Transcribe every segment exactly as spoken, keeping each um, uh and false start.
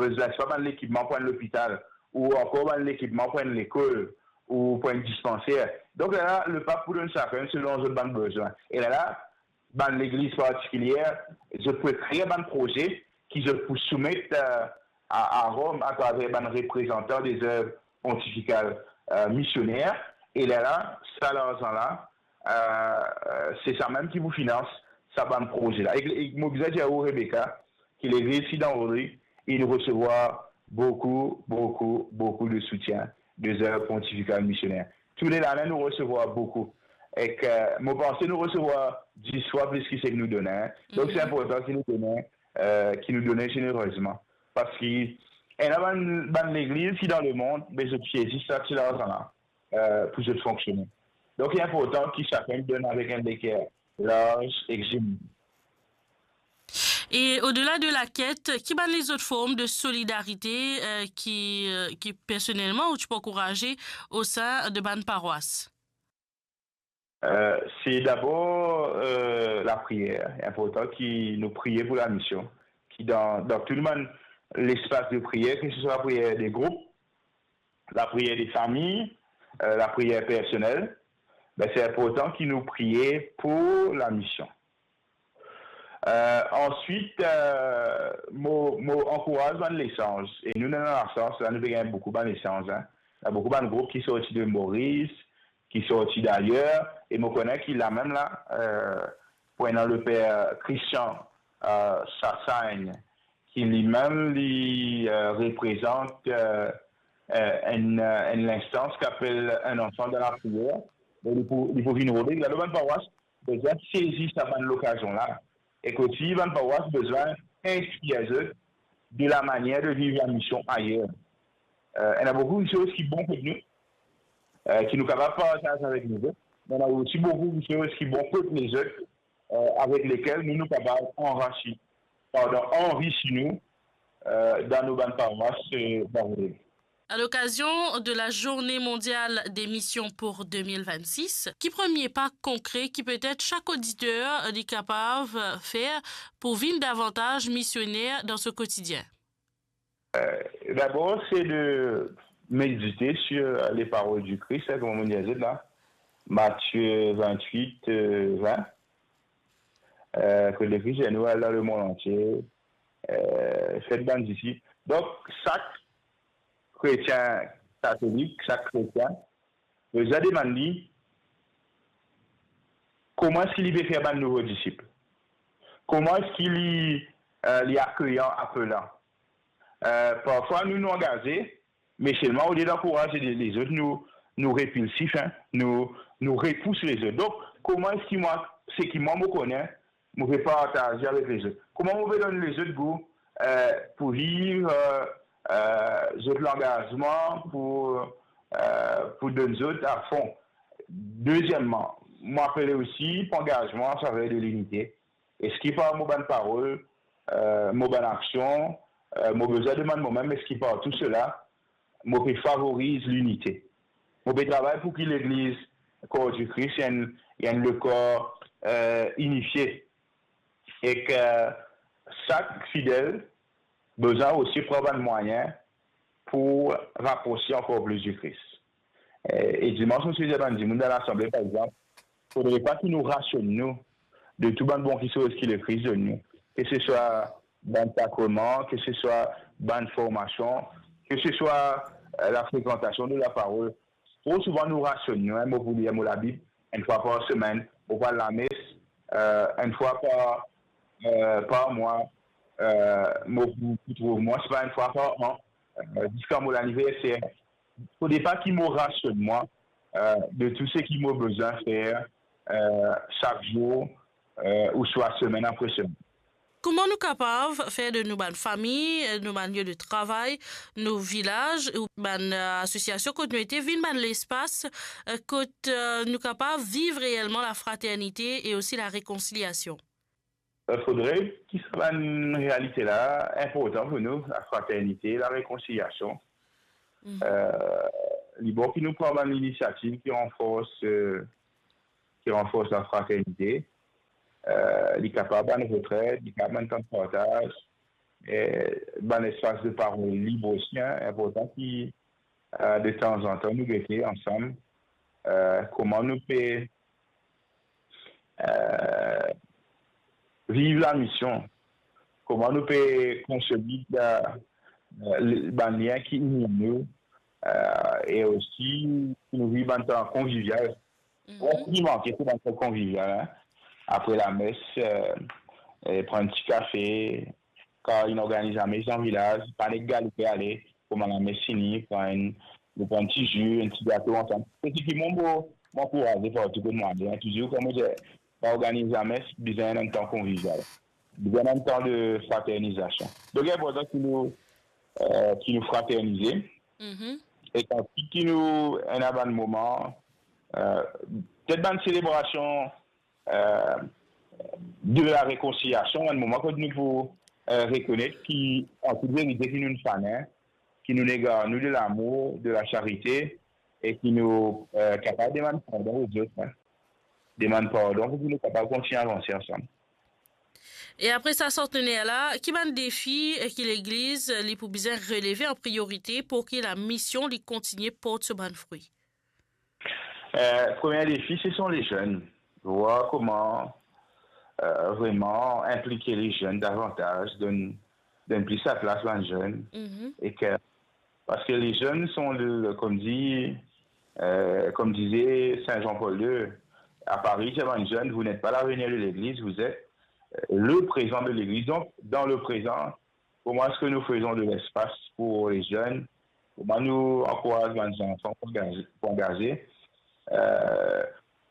bezwin, swa bann lekipman pou enn lopital, ou ankor bann lekipman pou enn lekol, ou pou enn dispanser. Donk, lerla, lepap pou donn sakenn selon zot bann bezwin. E lerla, bann legliz partikilie, zot pou ekrir bann proze ki zot pou soumet, eh, a, a Rom atraver bann reprezantan de zev pontifikal, eh, misioner. E lerla, sa larzan la, eh, se sa mem ki pou finans sa bann proze la. E, e mo bizin dir ou, Rebecca, ki legliz ki dan Vodri, inn resevwar boukou, boukou, boukou de soutien de zev pontifikal misioner. Tou le lane, nou resevwar boukou. Ek, eh, mo panse nou resevwar dis fwa plis ki seki nou done, en. Donk, se inportan ki nou done, eh, ki nou done zenerezman. Parski ena bann, bann legliz ki dan lemond, be zot sezi sa ti larzan la, eh, pou zot fonksione. Donk, li inportan ki sakenn donn avek enn leker larz ek zener. E odela de laket, ki bann lezot form de solidarite, eh, ki, eh, ki personelman ou ti pe ankouraze osin de bann parwas? Eh, se dabor, eh, lapriyer. Inportan ki nou priye pou lamision, ki dan, dan tou bann lespas de priyer, ke se swa lapriyer de group, lapriyer de fami, eh, lapriyer personel, be, se inportan ki nou priye pou lamision. Eh, answit, eh, mo, mo ankouraz bann lesanz. E nou, nou ena lasans, la, nou pe gagn boukou bann lesanz, en. Ena boukou bann group ki sorti de Moris, ki sorti dayer, e mo kone ki lamem la, eh, pou ena leper Christian, eh, Sassaigne, ki limem, li, eh, reprezant, eh, eh, enn, eh, enn linstans ki apel Un enfant dans la prière. Donk, li pou, li pou vinn rode, la, bann parwas, bizin sezi sa bann lokazion la. Ek osi, bann parwas bizin inspir zot de lamanier de viv lamision ayer. Eh, ena boukou kisoz ki bon kot nou, eh, ki nou kapav partaz avek lezot. Me ena osi boukou kisoz ki bon kot lezot, eh, avek lekel nou, nou kapav anrisi, pardon, anrisi nou, eh, dan nou bann parwas, eh, dan Vodri. À l'occasion de la Journée mondiale des missions pour deux mille vingt-six, ki premie pa konkre ki petet sak oditer li kapav fer pou vinn davantaz misioner dan so kotidien? Eh, dabor, se de medite sur les paroles du Christ, hein, kouma mo dir zot la, Matthieu vingt-huit, eh, vingt. Eh, kot Lekris dir nou, al dan lemond antie, eh, fer bann disip. Donk, sak kretien katolik, sak kretien, bizin demann li, kouma eski li pe fer bann nouvo disip? Kouma eski li, eh, li akeyan, apelan? Eh, parfwa, nou, nou angaze, me selman, olie d'ankouraz le-, lezot, nou, nou repilsif, en, nou, nou repous lezot. Donk, kouma eski mwa, seki mwa mo kone, mo pe partaze avek lezot? Kouma mo pe donn lezot gou, eh, pou viv, eh, eh, zot langazman, pou, eh, pou donn zot afon? Dezieman, mo apele osi pou angazman an saver de linite. Eski par mo bann parol, eh, mo bann aksion, eh, mo bizin demann momem, eski par tou sela, mo pe favoriz linite? Mo pe travay pou ki Legliz, Kor di Kris, enn, enn lekor, eh, inifie. Ek, eh, sak fidel bizin osi pran bann mwayin pou raprose ankor plis di Kris. Eh, e dimans, mo ti dir bann dimoun dan lasanble, par exanp, fodre pa ki nou rasionn nou de tou bann bon kisoz ki Lekris donn nou, ke se swa bann sakreman, ke se swa bann formasion, ke se swa, eh, lafrekantasion de laparol. Tro souvan nou rasionn nou, en, mo pou lir mo Labib enn fwa par semenn, mo pou al lames, eh, enn fwa par, eh, par mwa, eh, mo pou, pou trouv mwa, se pa enn fwa par an, eh, ziska mo laniverser. Fodre pa ki mo rasionn mwa, eh, de tou seki mo bizin fer, eh, sak zour, eh, ouswa semenn apre semenn. Kouma nou kapav fer de nou bann fami, nou bann lie de travay, nou vilaz, ou bann, eh, asosiasion kot nou ete, vinn bann lespas, eh, kot, eh, nou kapav viv reelman lafraternite e osi larekonsiliasion? Eh, fodre ki sa bann realite la inportan pou nou, lafraternite, larekonsiliasion. Eh, li bon ki nou pran bann linisiativ ki ranfors, eh, ki ranfors lafraternite. Eh, li kapav bann retred, li kapav bann tan de partaz, eh, bann lespas de parol lib osi, hein, inportan ki, eh, de tanzantan nou gete ansam, eh, kouma nou pe, eh, viv lamision, kouma nou pe konsolid, eh, eh, bann lien ki ini nou, eh, e osi ki nou viv bann tan konvivial. Mhm. Bon, ki manke, se bann tan konvivial, hein. Apre lames, eh, eh, pran enn ti kafe, kan inn organiz lames dan vilaz, pa nek galoupe ale, kouma lames fini, pran enn, nou pran enn ti zi, enn ti gato ansam. Se seki mwa, mo, mo ankouraze partou kot mo ale, hein. Touzour, kouma mo dir, pa organiz lames, bizin enn tan konvivial. Bizin enn tan de fraternizasion. Donk, li inportan ki nou, eh, ki nou fraternize. Mhm. E kan ki nou ena bann moman, eh, petet bann selebrasion, eh, de la rekonsiliasion, enn moman kot nou pou, eh, rekonet ki, an tout verite, ki nou finn fane, ki nou ena nou de lamour, de lasarite, e ki nou, eh, kapav demann pardon lezot, hein. Demann pardon pou ki nou kapav kontign avanse ansam. E apre sa, santner la, ki bann defi, eh, ki legliz, eh, li pou bizin releve an priorite pou ki lamision li kontigne port so bann fri? Eh, premie defi, se son lezenn. Vwar kouma, eh, vreman inplike lezenn davantaz, donn, donn plis laplas bann zenn. Mhm. E ke, parski lezenn son le, kouma dir, eh, kouma dize Saint Jean-Paul deux, à Paris, c'est bann zenn, vous n'êtes pas l'avenir de l'église, vous êtes, eh, le présent de l'église. Donc, dans le présent, kouma eski nou fer de lespas pou lezenn? Kouma nou ankouraz bann zanfan pou angaze, pou angaze? Eh,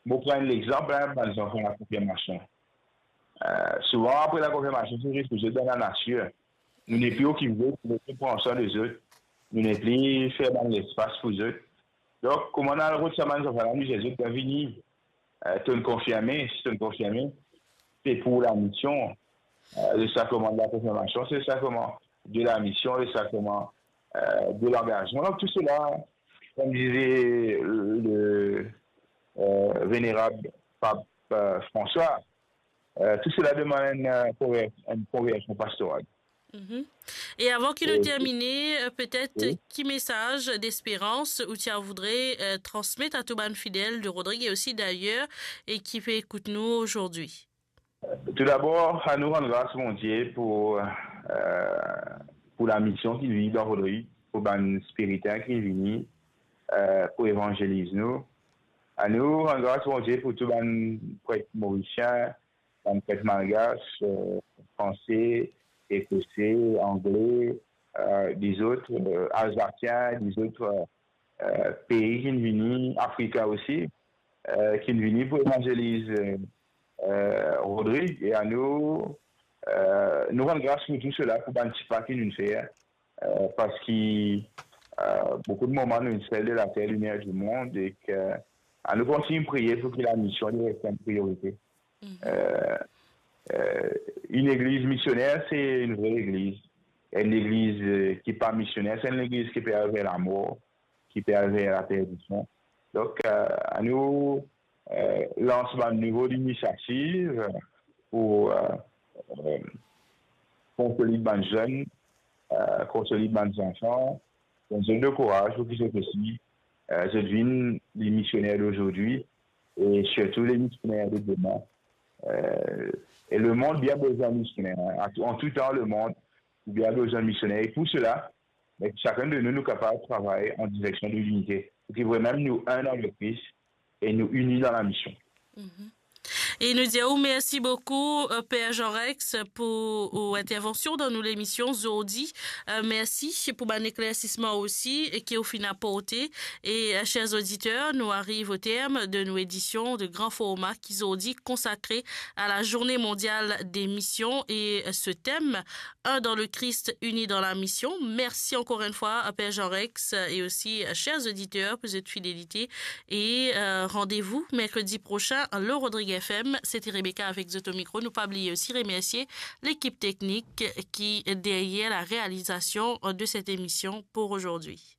mo pran enn lexanp, hein, bann zanfan lakonfirmasion. Eh, souvan, apre lakonfirmasion, se zis pou zot dan lanatir. Nou nepli okip zot, nou nepli pran swen de zot, nou nepli fer bann lespas pou zot. Donk, kouma nou al rod sa bann zanfan la, nou dir zot, "Bienvini, eh, to'nn konfirme, si to'nn konfirme, se pou lamision." Eh, le sakraman de lakonfirmasion, se le sakraman de lamision, le sakraman, eh, de langazman. Donk, tou sela, kouma dize le, eh, venerab pap, eh, François, eh, tou sela demann enn, eh, konver-, enn konversion pastoral. Mhm. E avan ki nou termine, eh, petet, wi, ki mesaz desperans ou ti a voudre, eh, transmet a tou bann fidel de Rodrig e osi dayer, e ki pe ekout nou ozordi? Toudabor, anou rann gras Bondie pou, eh, pou lamision ki vini dan Rodrig, pou bann spiriten ki vini, eh, pou evanzeliz nou. Anou rann gras Bondie pou tou bann pret morisien, bann pret malgas, eh, franse, ekose, angle, eh, dizot, eh, alzasien, dizot, eh, eh, pei ki vini, Afrika osi, eh, ki vini pou evanzeliz, eh, eh, Rodrig, e anou, eh, nou rann gras pou tou sela, pou bann ti pa ki nou fer, eh, parski, eh, boukou de moman nou enn sel de later, limyer dimond, e ke, anou kontign priye pou ki lamision li res enn priorite. Mhm. Eh, eh, enn legliz misioner, se enn vre legliz. Enn legliz, eh, ki pa misioner, se enn legliz ki pe al ver lamor, ki pe al ver laperdision. Donk, eh, anou, eh, lans bann nouvo linisiativ pou, eh, eh, konsolid bann zenn, eh, konsolid bann zanfan, donn zot lekouraz pou ki zot osi, eh, zot vinn lemisioner dozordi, e sirtou lemisioner de demin. Eh, e lemond bien bizin misioner, hein. An tou, an tou tan, lemond bien bizin misioner. E pou sela, ben, sakenn de nou, nou kapav travay an direksion de linite. Pou ki vremem nou enn dan Lekris e nou ini dan lamision. Mhm. E nou dir ou mersi boukou, eh, Per Jean Rex, pou ou intervansion dan nou lemision zordi. Eh, mersi pou bann eklersisman osi, eh, ki ou finn aporte. E, eh, ser oditer, nou ariv o term de nou edision de gran forma ki zordi konsakre a la Journée mondiale des missions et, eh, ce thème, Un dans le Christ, uni dans la mission. Mersi ankor enn fwa a Per Jean Rex, eh, e osi, eh, ser oditer pou zot fidelite. E, eh, randevou merkredi prosin, le Rodrig F M. Se ti Rebecca avek zot o mikro. Nou pa bliye osi remersie lekip teknik ki deryer la realizasion de set emision pou ozordi.